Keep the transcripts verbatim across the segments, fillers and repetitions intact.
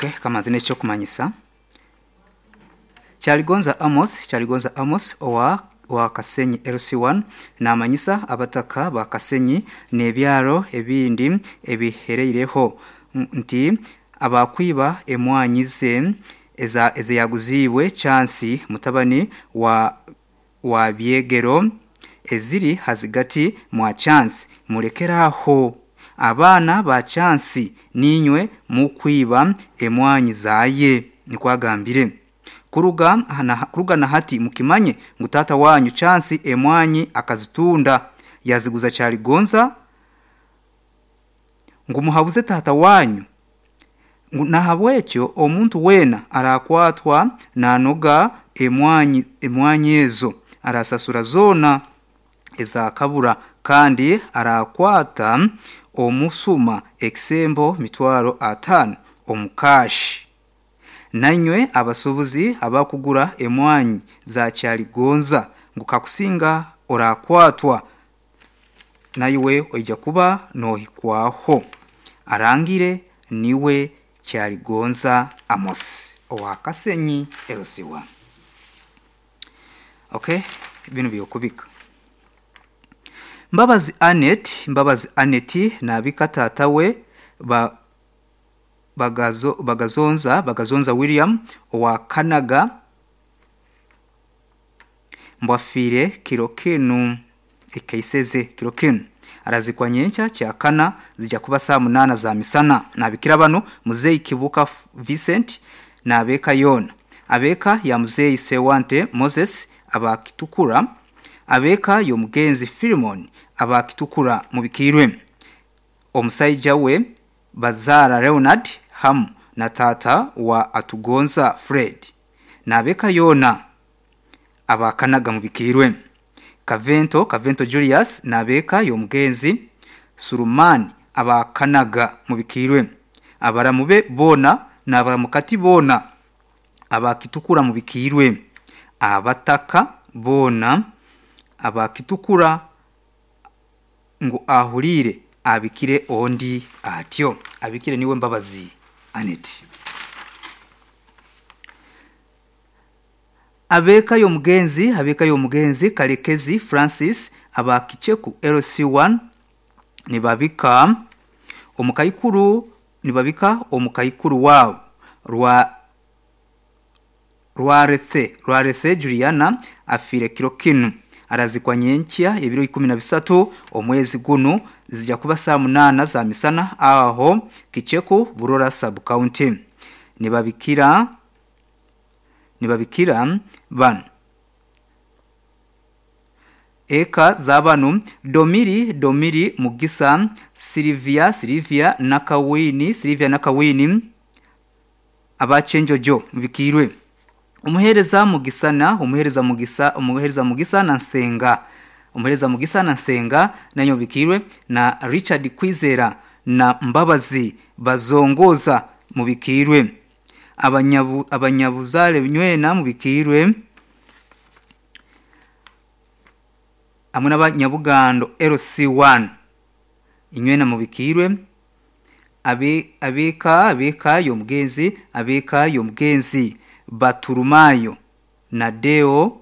Okay, kamazi n'ekyokumanyisa Kyaligonza Amos Kyaligonza Amos owa wa Kasenyi L C one namanyisa abataka ba Kasenyi n'ebyaro ebindi ebihereireho nti abakwiba emwanyi ze eza ezeyaguziibwe Chance mutabani wa wa Byegero eziri hazigati mwa Chance, murekeraho. Abaana ba Chance ninywe mukwiba emwanyi zaye, nikwagambire. Kuruga na, kuruga na hati mukimanye ngu tata wanyu Chance emwanyi akazitunda yaziguza Kyaligonza, ngu muhabuze tata wanyu, ngu nahabwekyo omuntu weena arakwatwa nanoga emwanyi emwanyi ezo arasasura zoona ezakabura, kandi arakwata omusuma ekisembo mitwaro ataano omukashi. Nanywe abasuubuzi abakugura emwanyi za Kyaligonza, ngu kakusinga orakwatwa naiwe oija kuba nohikwaho. Arangire niwe Kyaligonza Amos owa Kasenyi L C one. Okay, bino byokubika. Mbabazi Anet, Mbabazi Anet nabika tata we ba bagazo, bagazonza bagazonza William owa Kanaga, mbwafiire kiro kinu ekaiseze kiro kinu, arazikwa nyenkya kyakana zijja kuba saa munana za misana. Nabikira bano: Muzeyi Kibuka Vincent nabeka yona, abeka ya Muzeyi Sewante Moses abakitukura, abeka y'omugenzi Filimon abakitukura mubikirwe, omusaija we Bazara Leonard hamu na tata wa Atugonza Fred nabeka yona abakanaga mubikirwe. Kavento Kavento Julius nabeka y'omugenzi Surumani abakanaga mubikirwe, abaramube boona n'abaramukati boona abakitukura mubikirwe, abataka boona abakitukura, ngu ahurire abikire ondi atyo abikire niwe Mbabazi Anet. Abeka y'omugenzi abeka y'omugenzi Kalekezi Francis abakicheku L C one nibabika omukaikuru nibabika omukaikuru wabo rwa Rwaretse Rwaretse Juliana afire kiro kinu, arazikwa nyenkya ebiro ikumi na bisatu omwezi gunu zijja kuba saa munana za misana aho Kicheku, Burora sub county. Nibabikira nibabikira bano: eka z'abanu Domiri Domiri Mugisa, Silvia Silvia Nakawini, Silvia Nakawini abachenjojo mubikirwe, umuhereza Mugisana, umuhereza Mugisa, umuhereza Mugisa na Nsenga, umuhereza Mugisa na Nsenga nanyo bikirwe, na Richard Kwizera na Mbabazi bazongoza mubikirwe, abanyabu abanyabuzale nywena mubikirwe, hamwe n'abanyabugando L C one inywena mubikirwe, abe abeka abeka y'omugenzi abeka y'omugenzi Baturumayo na Deo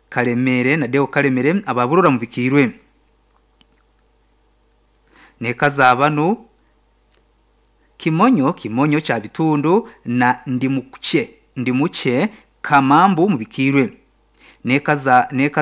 Kalemere na Deo Kalemere ababurora mubikirwe, neka zabano Kimonyo Kimonyo cha Bitundu na Ndimuche Ndimuche Kamambu mubikirwe, neka za neka.